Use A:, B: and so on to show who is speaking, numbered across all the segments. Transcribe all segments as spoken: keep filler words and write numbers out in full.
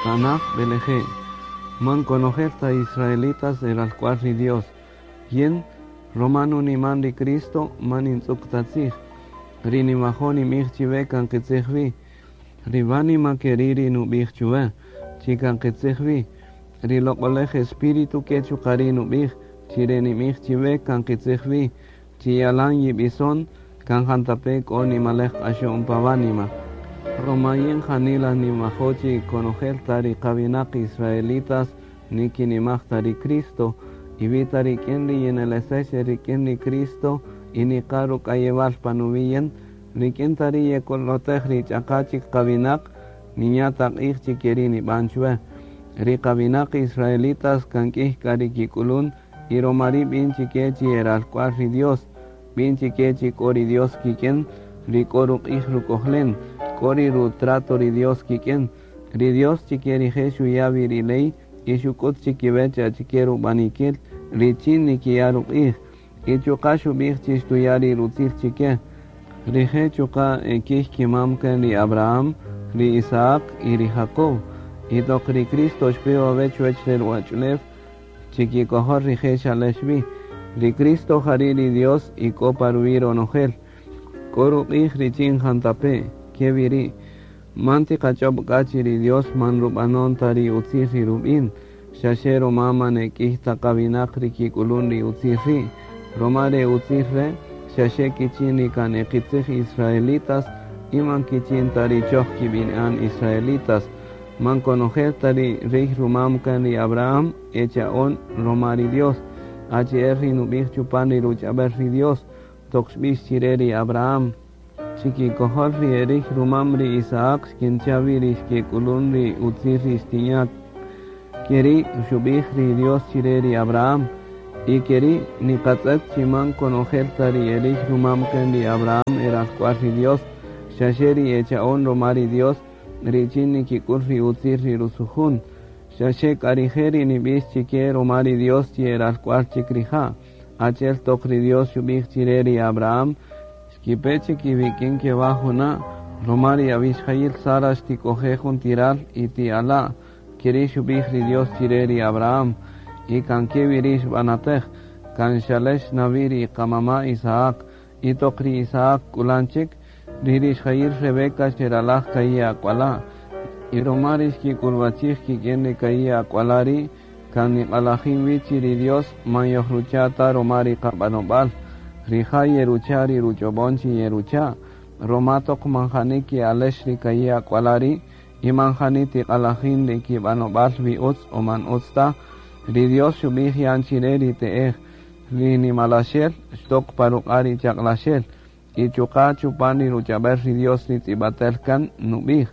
A: Tanaj beleje. Man konojel ta israelitas eralk'wal ri Dios. Yin roma nuniman ri Cristo man nintz'uk ta tzij. Ri ninwajo' ninb'ij chiwe kan qitzij wi. Ri wánima keri' ri nub'ij chuwe, chi kan qitzij wi. Ri loq'olej Espíritu ke chuqa' ri' nub'ij, chi re ninb'ij chiwe kan qitzij wi, chi yalan yib'ison kan jantape' k'o nimalej q'axo'n pa wánima. Roma yin janila ninwajo' chi konojel ta ri qawinaq israelitas nikinimaj ta ri Cristo, y wi ta rik'in ri yinelesex rik'in ri Cristo y niqa ruk'ayewal pa nuwi' yin, rik'in ta ri yekolotej ri ch'aqa chik qawinaq, ninya' ta q'ij chi keri' nib'an chuwe. Ri qawinaq israelitas kan k'ij k'a ri kik'ulun y roma ri' b'in chike chi eralk'wal ri Dios, b'in chike chi k'o ri Dios kik'in, ri k'o ruq'ij ruk'ojlen, k'o ri rutrato ri Dios kik'in. Ri Dios chike rije' xuya' wi ri ley y xuk'ut chikiwech achike rub'anikil richin nikiya' ruq'ij, y chuqa' xub'ij chi xtuya' ri rutzil chike. Rije' chuqa' ek'ij kimam kan ri Abraham, ri Isaac y ri Jacob. Y toq ri Cristo xpe wawe' chuwech re ruwach'ulew, chikikojol rije' xalex wi. Ri Cristo jari' ri Dios y k'o pa ruwi' ronojel. K'o ruq'ij richin jantape', ke wi ri'. Man tiqach'ob' k'a chi ri Dios man rub'anon ta ri utzil ri rub'in, xaxe roma man ek'ij ta qawinaq ri kik'ulun ri utzil ri'. Roma re utzil re' xaxe kichin ri kan e qitzij israelitas y man kichin ta ri choj kib'ini'an israelitas. Man konojel ta ri rij rumam kan ri Abraham echa'on roma ri Dios. Achi'el ri nub'ij chupan ri ruch'ab'el ri Dios, toq xb'ix chire ri Abraham. Chikikojol ri erij rumam ri Isaac xkincha' wi ri xkek'ulun ri utzil ri xtinya'. Keri' xub'ij ri Dios chire ri Abraham. Y keri' niqatz'et chi man konojel ta ri erij rumam kan ri Abraham eralk'wal ri Dios, xaxe ri echa'on roma ri Dios, richin nikik'ul ri utzil ri rusujun. Xaxe k'a rije' ri nib'ix chike roma ri Dios chi eralk'wal chik rija'. Achi'el toq ri Dios xub'ij chire ri Abraham, xkipe chik iwik'in kewa' juna', roma ri awixjayil Sara xtik'oje' jun ti ral y ti ala'. Keri' xub'ij ri Dios chire ri Abraham, y kan ke wi ri' xb'anatej, kan xalex na wi ri qamama' Isaac, y toq ri Isaac k'ulan chik, ri rixjayil Rebeca xeralaj ka'i' ak'wala'. Y roma ri xkik'ulwachij kik'in ri ka'i' ak'wala' ri', kan niq'alajin wi chi ri Dios man yojrucha' ta roma ri qab'anob'al. Rija' yerucha' ri ruch'ob'on chi yerucha', roma toq man jani ke'alex ri ka'i' ak'wala' ri', y man jani tiq'alajin ri kib'anob'al wi utz o man utz ta. Ri Dios xub'ij yan chire ri te'ej, ri nimalaxel xtok pa ruq'a' ri chaq'laxel, y chuqa' chupan ri ruch'ab'el ri Dios ri tz'ib'atel kan nub'ij.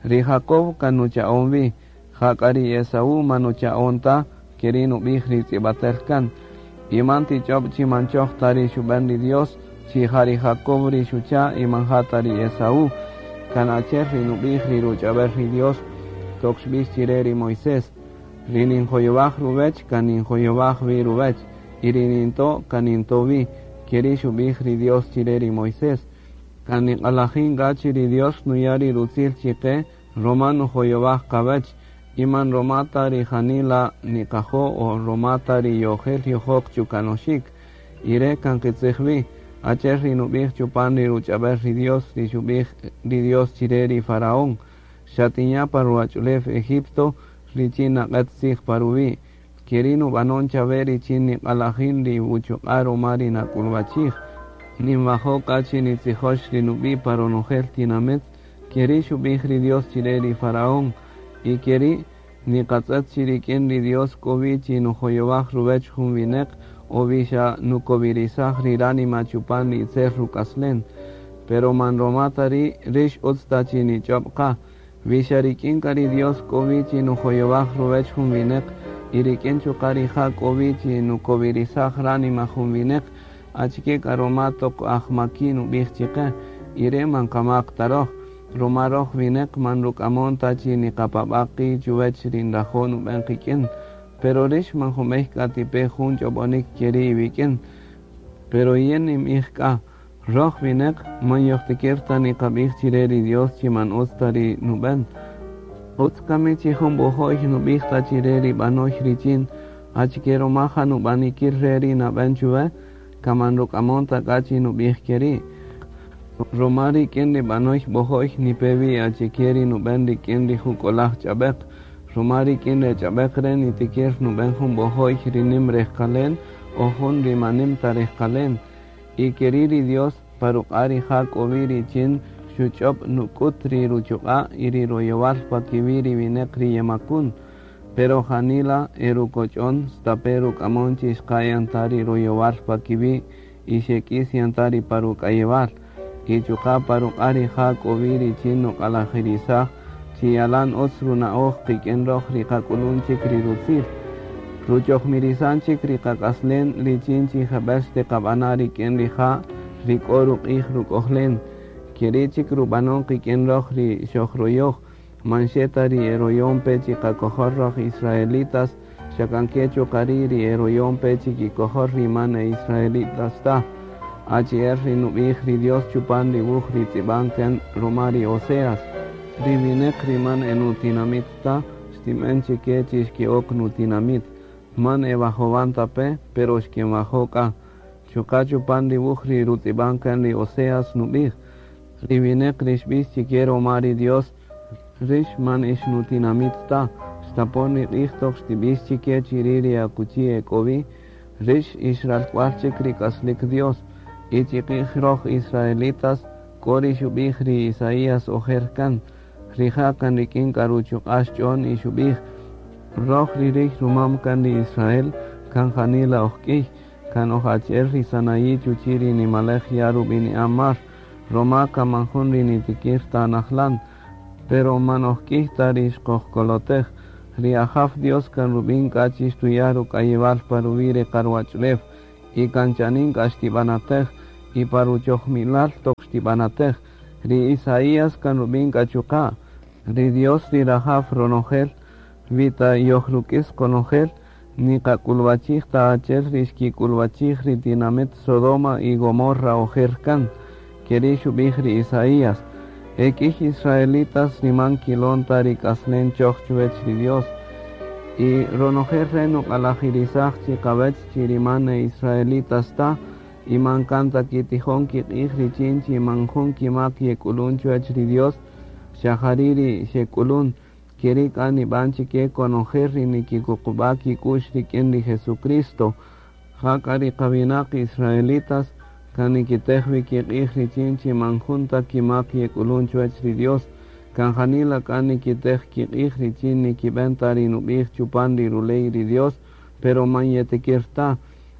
A: Ri Jacob kan nucha'on wi, jak'a ri Esaú man nucha'on ta, keri' nub'ij ri tz'ib'atel kan. Y man tich'ob' chi man choj ta ri xub'en ri Dios, chi ja ri Jacob ri xucha' y man ja ta ri Esaú. Kan achi'el ri nub'ij ri ruch'ab'el ri Dios, toq xb'ix chire ri Moisés. Ri ninjoyowaj ruwech kan ninjoyowaj wi ruwech, y ri ninto' kan ninto' wi, keri' xub'ij ri Dios chire ri Moisés. Kan niq'alajin k'a chi ri Dios nuya' ri rutzil chiqe, roma nujoyowaj qawech, y man roma ta ri janila niqajo' o roma ta ri yojel yojok chukanoxik. Y re' kan qitzij wi, achi'el ri nub'ij chupan ri ruch'ab'el ri Dios ri xub'ij ri Dios chire ri Faraón, xatinya' pa ruwach'ulew Egipto richin naq'et tzij pa ruwi'. Keri' nub'anon chawe richin niq'alajin ri wuchuq'a' roma ri nak'ulwachij. Ninwajo' k'a chi nitzijox ri nub'i' pa ronojel tinamit, keri' xub'ij ri Dios chire ri Faraón. Y keri' niqatz'et chi rik'in ri Dios k'o wi chi nujoyowaj ruwech jun wineq o wi xa nukowirisaj ri ránima chupan ri itzel ruk'aslen. Pero man roma ta ri' rix utz ta chi nich'ob' qa. Wi xa rik'in k'a ri Dios k'o wi chi nujoyowaj ruwech jun wineq, y rik'in chuqa' rija' k'o wi chi nukowirisaj ránima jun wineq, achike k'a roma toq ajmaki' nub'ij chiqe, y re' man qamaq ta roj. Roma roj wineq man ruk'amon ta chi niqapab'a' qi' chuwech ri nrajo' nub'en qik'in. Pero rix man junb'ey k'a tipe jun ch'ob'onik keri' iwik'in. Pero yin ninb'ij k'a, roj wineq man yojtikir ta niqab'ij chire ri Dios chi man utz ta ri nub'en. Utz kami chi jun b'ojo'y nub'ij ta chire ri b'anoy richin achike ruma ja nub'anikil re ri nab'en chuwe kaman ruk'amon ta k'a chi nub'ij keri'. Ruma rik'in ri b'anoy b'ojo'y nipe wi achike ri nub'en rik'in ri juk'olaj ch'ab'eq. Ruma rik'in re ch'ab'eq re' nitikir nub'en jun b'ojo'y ri nim rejqalen o jun ri man nim ta rejqalen. Y keri' ri Dios pa ruq'a' rija' k'o wi richin xuch'ob' nuk'ut ri ruchuq'a' y ri royowal pa kiwi' ri wineq ri yemakun. Pero janila erukoch'on stape ruk'amon chi xqa' yan ta ri royowal pa kiwi' y xek'is yan ta ri pa ruk'ayewal. Y chuqa' pa ruq'a' rija' k'o wi richin nuq'alajirisaj chi yalan utz runa'oj qik'in roj ri qak'ulun chik ri rutzil. Ruchojmirisan chik ri qak'aslen richin chi jeb'ël xtiqab'ana' rik'in rija' ri k'o ruq'ij ruk'ojlen. Keri' chik rub'anon qik'in roj ri xojroyoj man xe ta ri eroyon pe chi qakojol roj israelitas xa kan ke chuqa' ri' ri eroyon pe chi kikojol ri man e israelitas ta. Achi'el ri nub'ij ri Dios chupan ri wuj ri tz'ib'an kan ruma ri Oseas. Ri wineq ri man e nutinamit ta xtinb'en chike chi xke'ok nutinamit. Man e wajowan ta pe, pero xkenwajo' k'a. Chuqa' chupan ri wuj ri rutz'ib'an kan ri Oseas nub'ij. Ri wineq ri xb'ix chike ruma ri Dios rix man ix nutinamit ta. Xtapon ri q'ij toq xtib'ix chike chiri' ri akuchi e k'o wi, rix ix ralk'wal chik ri k'aslik Dios. Y chiqij roj israelitas k'o ri xub'ij ri Isaías ojer kan. Rija' kan rik'in k'a ruchuq'a' xch'on y xub'ij roj ri rij rumam kan ri Israel kan janila oj k'iy kan oj achi'el ri sanayi' chuchi' ri nimalej ya' rub'ini'an mar. Ruma kan man jun ri nitikir ta najlan. Pero man oj k'iy ta ri xqojkolotej. Ri Ajaw Dios kan rub'in k'a chi xtuya' ruk'ayewal pa ruwi' ri qaruwach'ulew y kan chanin k'a xtib'anatej y pa ruchojmilal toq xtib'anatej. Ri Isaías kan rub'in k'a chuqa'. Ri Dios ri rajaw ronojel wi ta yojruk'is qonojel niqak'ulwachij ta achi'el ri xkik'ulwachij ri tinamit Sodoma y Gomorra ojer kan. Keri' xub'ij ri Isaías. E k'iy israelitas ri man kilon ta ri k'aslen choj chuwech ri Dios. Y ronojel re' nuq'alajirisaj chi qawech chi ri man e israelitas ta y man kan ta kitijon kiq'ij richin chi man jun kimak yek'ulun chuwech ri Dios xa jari' ri xek'ulun. Keri' k'a nib'an chike konojel ri nikikuqub'a' kik'u'x rik'in ri Jesucristo. Ja k'a ri qawinaq israelitas kan nikitej wi kiq'ij richin chi man jun ta kimak yek'ulun chuwech ri Dios. Kan janila k'a nikitej kiq'ij richin nikib'en ta ri nub'ij chupan ri ruley ri Dios, pero man yetikir ta.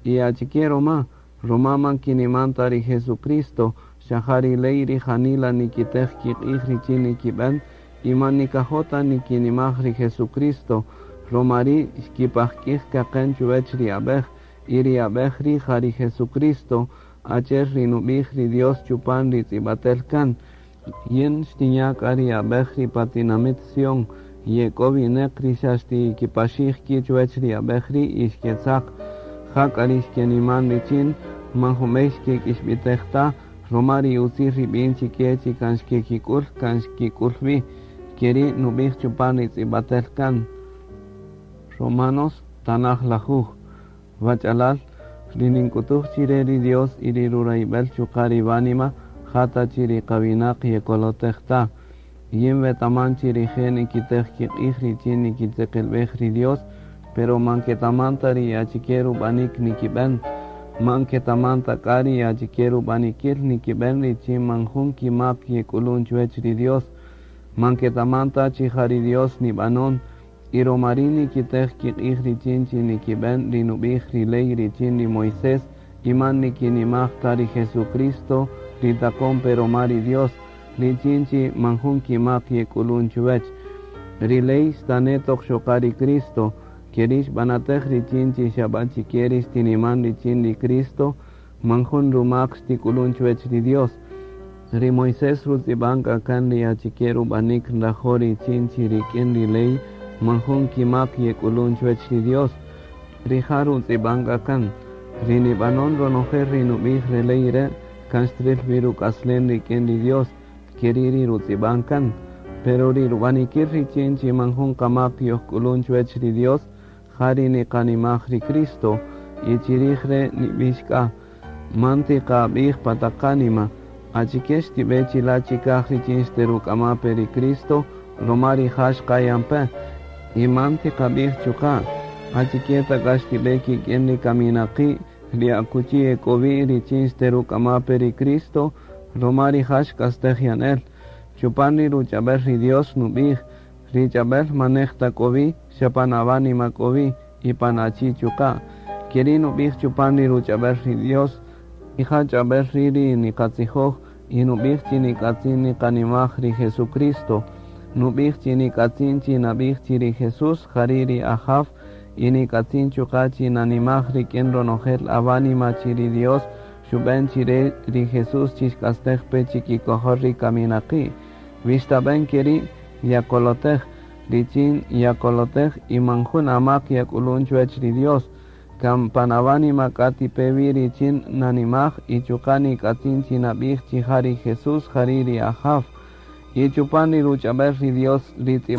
A: Y achike ruma, ruma man kiniman ta ri Jesucristo, xa ja ri ley ri janila nikitej kiq'ij richin nikib'en y man nikajo' ta nikinimaj ri Jesucristo. Ruma ri' xkipajk'ij kaqen chuwech ri ab'ej y ri ab'ej ri' ja ri Jesucristo achi'el ri nub'ij ri Dios chupan ri tz'ib'atel kan. Yin xtinya' k'a ri ab'ej ri pa tinamit Sion ye k'o wineq ri xa xtikipaxij ki' chuwech ri ab'ej ri' y xketzaq. Ja k'a ri xkeniman richin man junb'ey xkek'ixb'itej ta ruma ri utzil ri b'in chike chi kan xkekik'ul kan xkik'ul wi. Keri' nub'ij chupan ri tz'ib'atel kan. Romanos tanaj lajuj. Wach'alal ri nink'utuj chire ri Dios y ri rurayb'el chuqa' ri wánima jata chi ri qawinaq yekolotej ta. Yin wetaman chi rije' nikitej kiq'ij richin nikitzeqelb'ej ri Dios, pero man ketaman ta ri achike rub'anik nikib'en. Man ketaman ta k'a ri achike rub'anikil nikib'en richin man jun kimak yek'ulun chuwech ri Dios. Man ketaman ta chi ja ri Dios nib'anon y ruma ri' nikitej kiq'ij richin chi nikib'en ri nub'ij ri ley richin ri Moisés y man nikinimaj ta ri Jesucristo ri taqon pe ruma ri Dios richin chi man jun kimak yek'ulun chuwech. Ri ley xtane' toq xoqa ri Cristo keri' xb'anatej richin chi xa b'a chike ri xtiniman richin ri Cristo man jun rumak xtik'ulun chuwech ri Dios. Ri Moisés rutz'ib'an k'a kan ri achike rub'anik nrajo' richin chi rik'in ri ley man jun kimak yek'ulun chuwech ri Dios. Rija' rutz'ib'an k'a kan. Ri nib'anon ronojel ri nub'ij re ley re' kan xtril wi ruk'aslen rik'in ri Dios keri' ri rutz'ib'an kan. Pero ri rub'anikil richin chi man jun qamaq yojk'ulun chuwech ri Dios, ja ri niqanimaj ri Cristo, y chirij re' nib'ix k'a, man tiqab'ij pa taq qánima, achike xtib'e chila' chikaj richin xteruk'ama pe ri Cristo, ruma rija' xqayan pe, y man tiqab'ij chuqa', achike ta k'a xtib'e kik'in ri kaminaqi' ri akuchi e k'o wi richin xteruk'ama pe ri Cristo, ruma rija' xk'astej yan el. Chupan ri ruch'ab'el ri Dios nub'ij, ri ch'ab'el man nej ta k'o wi, xa pan awánima k'o wi, y pan achi' chuqa'. Keri' nub'ij chupan ri ruch'ab'el ri Dios, y ja ch'ab'el ri' ri niqatzijoj, y nub'ij chi nik'atzin niqanimaj ri Jesucristo. Nub'ij chi nik'atzin chi nab'ij chi ri Jesús jari' ri Ajaw, y nik'atzin chuqa' chi nanimaj rik'in ronojel awánima chi ri Dios xub'en chire ri Jesús chi xk'astej pe chikikojol ri kaminaqi'. Wi xtab'en keri' yakolotej, richin yakolotej y man jun amak yak'ulun chuwech ri Dios. Kan pan awánima k'a tipe wi richin nanimaj y chuqa' nik'atzin chi nab'ij chi ja ri Jesús jari' ri Ajaw. Y chupan ri ruch'ab'el ri Dios ri